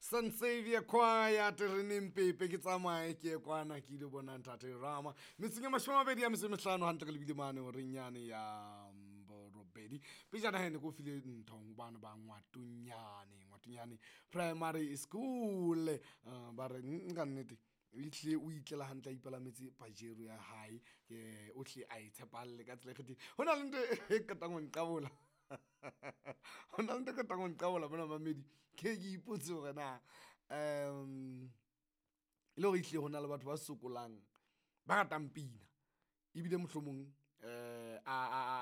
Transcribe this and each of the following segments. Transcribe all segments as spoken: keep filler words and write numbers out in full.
Saint Xavier Choir tereneng pepe ke tsamaye ke ye kwana ke ile bona ntate Rama metseng ya mashome a mabedi a metso e mehlano hantle re lebile mane horeng yane ya borobedi. Pejana he ne ke o file ntho bana ba Ngwatonyane, Ngwatonyane Primary School. Uh, ba re mm, ka nnete ehlile o itlela hantle a ipalametse pajero ya hae, eh, o hle a e tshepalle ka tsela e kgethehileng. Ho na le ntho e qetang ho nqabola ho na le ntho e qetang ho nqabola mona mamedi, ke ke ipotse hore na um e le hore ehlile ho na le batho ba sokolang ba ratang pina ebile mohlomong eh a a a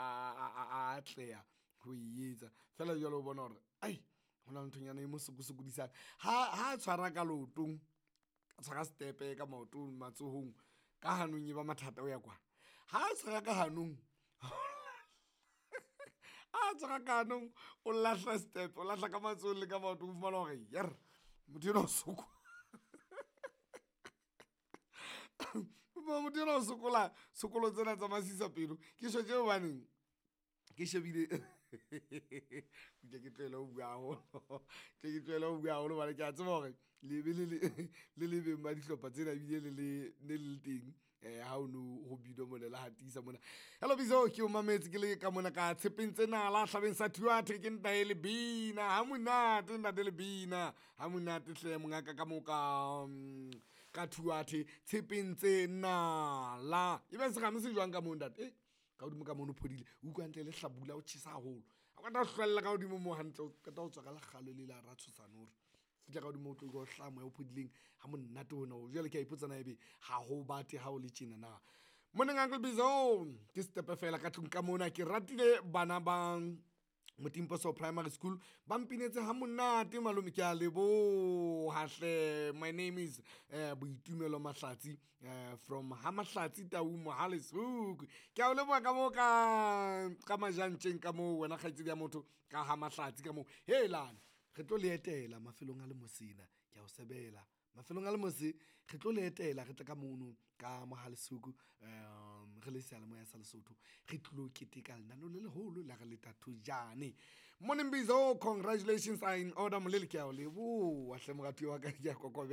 a a atleha ho e etsa feela jwale o bona hore ai ho na le nthonyana e mo sokosokodisang ha ha tshwara ka leotong, a tshwara stepe ka maotong matsohong ka hanong e ba mathata ho ya kwana. Ha tshwara ka hanong a tshwara ka hanong o lahla step, o lahla ka matsohong le ka maotong o fumana hore yerr motho enwa o sokola motho enwa o sokola tshokolo tsena tsa masisapelo. Ke tjho tje hobaneng ke shebile ke ke tlohele ho bua haholo ke ke tlohele ho bua haholo hobane ke a tseba hore le be le le le le beng ba dihlopha tsena ebile le le ne le le teng eh ha o no ho binwa mona le hatisa mona. Hello Bizo, ke o mametse ke le ka mona ka tshepeng tsena la hlabeng sa Thuathe ke ntate Lebina ha monate ntate Lebina ha monate hle mongaka ka mo ka mm, ka Thuathe tshepeng tse nala ebe serame se jwang ka moo ntate? Eh, ka hodimo ka mono phodile o utlwa hantle le hlabula o tjhesa haholo. O qeta ho hlwella ka hodimo moo hantle, o qeta ho tswa ka lekgalo le la ratshosane hore fihla ka hodimo o tlo utlwa ho hlaha moya o phodileng ha monate ona o. Jwale ke a ipotsa na ebe ha ho bate ha o le tjena na. Morning Uncle Bizo, ke stepe fela ka tlung ka mona. Ke ratile bana ba Motimposo Primary School ba mpinetse ha monate malome, ke a leboha hle. My name is eh, Boitumelo Mahlatsi eh, from ha Mahlatsi Tau Mohale's Hoek. Ke a o leboha ka moo ka ka majantjeng ka moo wena kgaitsedi ya motho ka ha Mahlatsi ka moo. Helane re tlo le etela mafelong a le mosena, ke a o sebela mafelong a le mose re tlo le etela re tle ka mono ka Mohale's Hoek, um re le seyalemoya sa Lesotho re tlilo keteka lenaneo le leholo la re leta thojane. Morning Bizo, congratulations are in order molele, ke a o leboha hle moratuwa wa ka, ke a kokobela.